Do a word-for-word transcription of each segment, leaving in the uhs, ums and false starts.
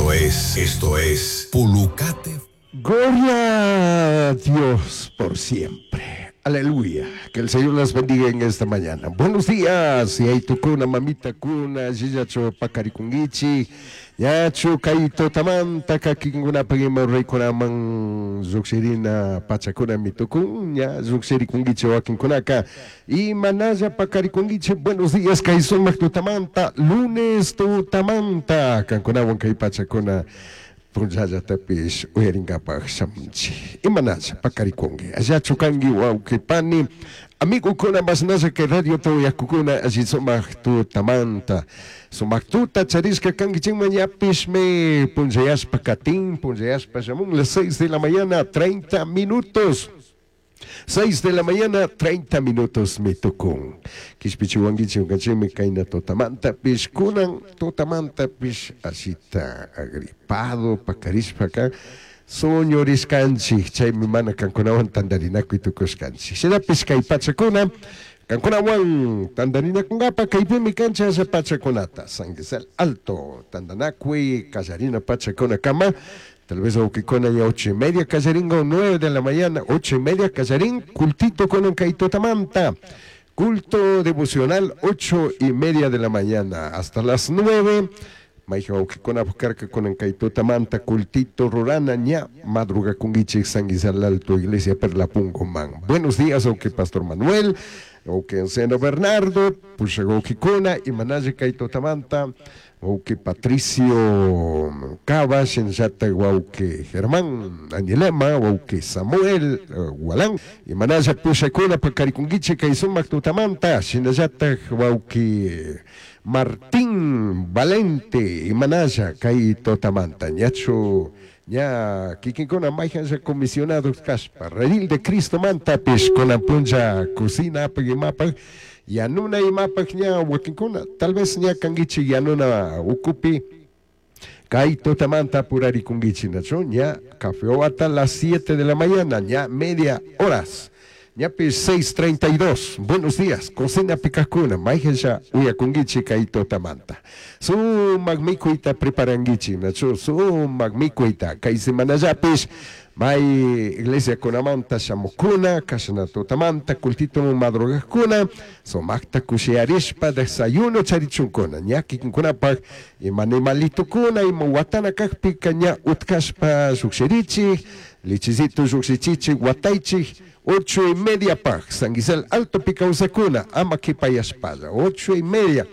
Esto es, esto es Pulucate. Gloria a Dios por siempre. Aleluya. Que el Señor las bendiga en esta mañana. Buenos días. Y ahí tukuna, mamita kuna, yillachu pakarikungichi. Yachu kayto tamanta kakinkuna pagima reykunaman lluqshirina pachakuna mitukun ña lluqshirikunkichik wakinkunaka y manalla pakarikunkichik. Buenos días, kay sumaq tutamanta, lunes tutamanta kankunawan kay pachakuna punllallatapish uyarinkapaq shamunchik. Imanalla pakarikunki, allachu kanki, wawqi pani, amigokuna, masnalla kay radio tuyakukuna? Alli sumaq tutamanta, sumaq tuta charishka kankichikman. Ñapishmi punllayashpa katin, punllayashpa shamun. Las seis de la mañana treinta minutos. seis de la mañana, treinta minutos mi tukun. Kishpichiwankichik ñukanchikmi kayna tutamanta pish, kunan tutamanta pish ashita agripado pakarishpaka suñurishkanchik, chaymi mana kankunawan tantarinakuy tukushkanchik. Shinapish kay pachakuna kankunawan tantarinakunkapa kaypimi kanchik asha pachakunata. San Gisel Alto tantanakuy kallarina pachakuna kama. Tal vez wawkikuna ya ocho y media kallaringa o nueve de la mañana, ocho y media kallarín, cultito con un tamanta. Culto devocional, ocho y media de la mañana hasta las nueve. Mayqa wawkikuna karka kunan kay tutamanta cultito rurana, ña madruga kungichik San Gisal Alto Iglesia Perla Pungo man. Buenos días, wawqi Pastor Manuel, wawqi anciano Bernardo, pusha wawkikuna, imanalla kay tutamanta, wawqi Patricio Cava, shinallata wawqi Germán Añilema, wawqi Samuel uh, Gualán, imanalla pushakuna pakarikunkichik kay sumaq tutamanta, shinallata wawqi Martín Valente, imanalla kay tutamanta, ñachu ña kikinkuna mayqanlla comisionados kashpa, redil de Cristo mantapish kunan punlla cocina apaq imapaq yanuna imapaq ña wakinkuna tal vez ña kankichik yanuna ukupi kay tutamanta apurarikunkichik, nachu ña café hasta las siete de la mañana, ña media horas. Ñapis seis treinta y dos. Buenos días. Cocina pikakuna. Mayqanlla uyakunkichik kay tutamanta. Sumaq mikuyta preparankichik. Nachu sumaq mikuyta. Kay semanallapis may iglesia kunamanta shamukuna, kashna tutamanta, cultito madrugakuna, sumaqta kushiyarishpa desayuno charichunkuna. Ña kikinkunapaq ima animalitukuna, ima watana kaqpika ña utkashpa lluqshirichik, lichicito lluqshichichik, wataychik, ocho y media paj, San Gisel Alto kawsakuna, ama kipayashpalla, ocho y media.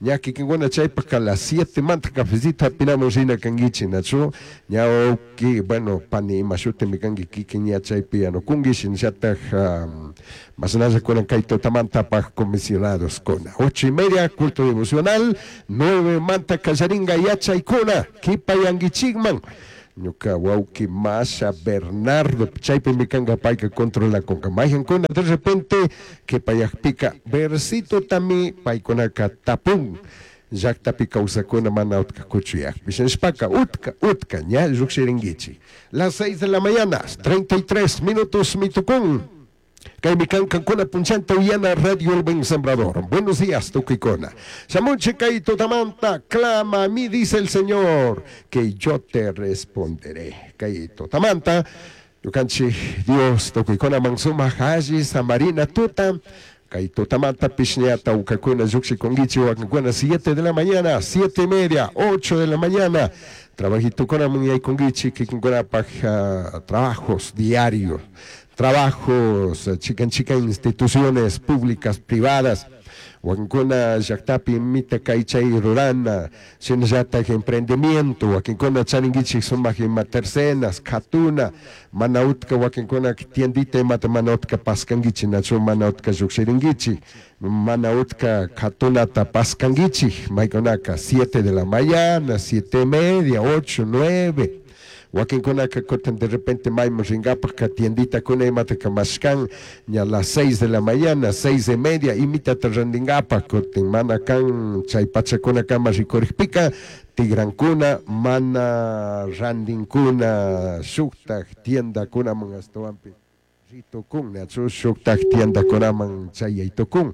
Ña kikinkuna chaypaq a las siete manta cafecito hapinamun rina kankichik, nachu ña wawqi, bueno, pani ima shutimi kanki kikin ña chaypi yanukunki, shinallataj um, masnalla kunan kay tutamantapaq comisionados kuna. Ocho y media culto devocional, nueve manta kallaringa yachaykuna, kipayankichikman. Ñuka wawqi Masha Bernardo chaypimi kanka, payka controlakunka. Mayqankuna de repente kipayaqpika versito tami paykunaka tapun llaqtapi kawsakuna mana utka kuchuyaqpi shinashpaka utka utka ña lluqshirinkichik. Las seis de la mañana, treinta y tres minutos mitukun. Kaymi kan kankuna punchanta uyana Radio El Buen Sembrador. Buenos días, tukuykuna. Shamunchik kay tutamanta, clama a mí, dice el Señor, que yo te responderé. Kay tutamanta, ñukanchik Dios tukuykunaman sumaq alli samarina tuta. Kay tutamanta pishñata ukakuna lluqshikunkichik wakinkuna siete de la mañana, siete y media, ocho de la mañana. Trabajitukunaman yaykunkichik kikinkunapaq uh, trabajos diarios, trabajos, chikan chikan instituciones públicas, privadas, wakinkuna llaqtapi imita kay chay rurana, shinallatak emprendimiento, wakinkuna charinkichik sumaq ima tercenas, katuna, mana utka wakinkuna tiendita imata mana utka paskankichik, nachu mana utka llukshirinkichik, mana utka katunata paskankichik, maykunaka siete de la mañana, siete y media, ocho, nueve. Wakinkunaka kutin de repente mayman rinkapaq ka tienditakuna imata mashkan ña las seis de la mañana, seis y media, imitata randinkapaq kutin mana kan chay pachakuna kama rikurikpika tigrankuna mana randinkuna shuktak tiendakunaman ashtawanpi ritukun, nachu shuktak tiendakunaman chayaytukun.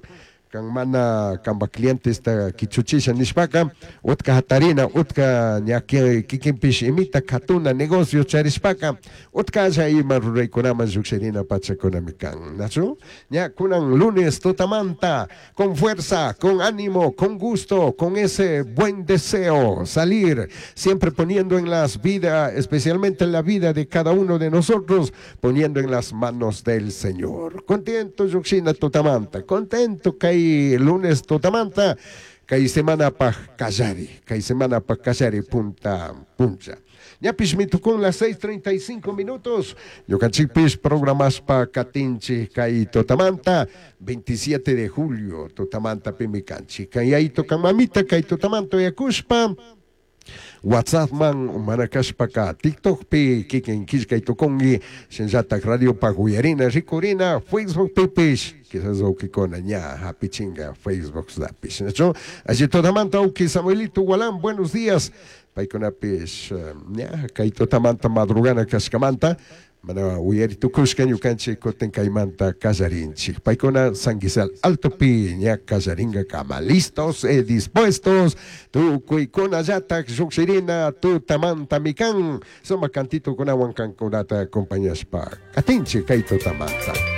Kan mana kanpa clientesta kichuchisha nishpaka utka hatarina, utka ña kikinpish imita katuna negocio charishpaka utkalla ima ruraykunaman llukshirina pachakunami kan, nachu? Ña kunan lunes tutamanta con fuerza, con ánimo, con gusto, con ese buen deseo salir, siempre poniendo en las vidas, especialmente en la vida de cada uno de nosotros, poniendo en las manos del Señor. Contento llukshina tutamanta, contento kay lunes tutamanta, kay semana pa kallari, kay semana pa kallari punta puncha. Ñapish mitukun las seis treinta y cinco minutos. Ñukanchikpish programaspa katinchik kay tutamanta, veintisiete de julio, tutamanta pimikanchik. Kay ayto kan mamita, kay tutamanta yakushpa, WhatsApp man manakashpaka TikTok pi kikin killkay tukunki, shinllatak radio pa uyarina rikurina, Facebook pipish, quizás ukikuna ña hapichinga Facebook dapish, ¿no? Allí tutamanta uki Samuelito Gualán, buenos días. Paykunapish, eh, ña kay tutamanta madrugana kashkamanta, mana uyari tukushka ñukanchik kutin kaymanta kallarinchik. Paykuna Sanguizal Alto pi ña kallaringa kama, listos e dispuestos, tukuykuna llatak llukshirina tutamanta mikan, suma cantito kunawan kankunata acompañashpa katinchik kay tutamanta.